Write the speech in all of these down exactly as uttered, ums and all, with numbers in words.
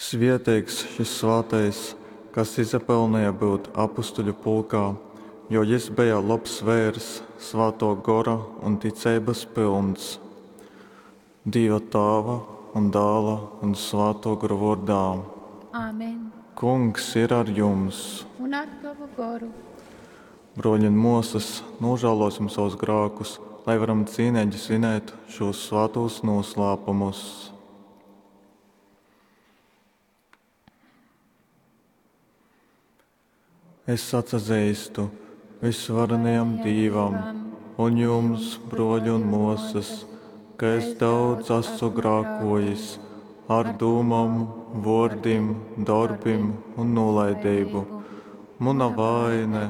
Svieteigs šys svātais, kas izapelneja byut apustuļu pulkā, jo jys beja lobs veirs, Svātō Gora un ticeibas pylns. Dīva Tāva un Dāla un Svātō Gora vōrdā. Amen. Kungs ir ar jums! Un ar tovu goru. Brōļi un mōsas, nūžālōsim savus grākus, lai varam cīneigi svinēt šūs svātūs nūslāpumus. Es atsazeistu Vysvarenajam Dīvam un jums, brōļi un mōsas, ka es daudz asu grākōjis ar dūmom, vōrdim, dorbim un nūlaideibu. Muna vaine,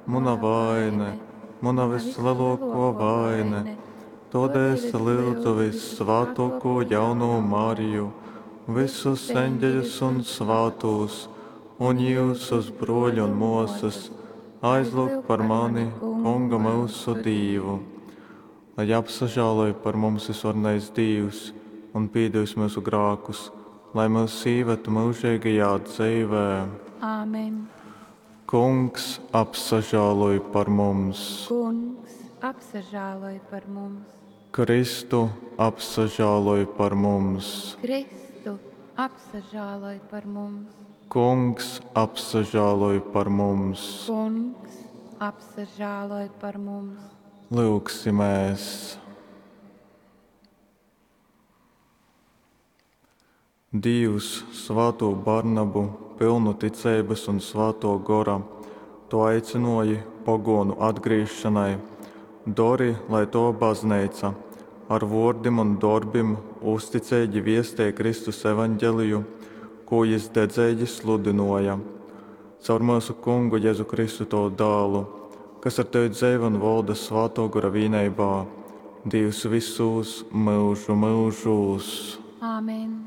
muna vaine, muna vyslelōkō vaine. Tōdēļ es lyudzu vyssvātōkū jaunū Mariju, visus eņģeļus un svātūs, un jyusus, brōļi un mōsas, aizlyugt par mani Kungu myusu Dīvu. Lai apsažāloj par mums Vysvarenais Dīvs un pīdevis myusu grākus, lai myus īved myužeigajā dzeivē. Āmen. Kungs, apsažāloj par mums! Kungs, apsažāloj par mums! Kristu, apsažāloj par mums! Kristu, apsažāloj par mums! Kungs, apsažāloj par mums! Kungs, apsažāloj par mums! Lyugsimēs! Dīvs, svātū Barnabu, pylnu ticeibas un Svātō Gora, tu aicynōji pogōnu atgrīzšonai, dori, lai tova Bazneica ar vōrdim un dorbim uzticeigi viestej Kristus Evaņgeliju, kū jys dedzeigi sludynōja. Caur myusu Kungu Jezu Kristu, tovu Dālu, kas ar tevi dzeivoj un volda Svātō Gora vīneibā, Dīvs vysūs myužu myužūs. Āmen.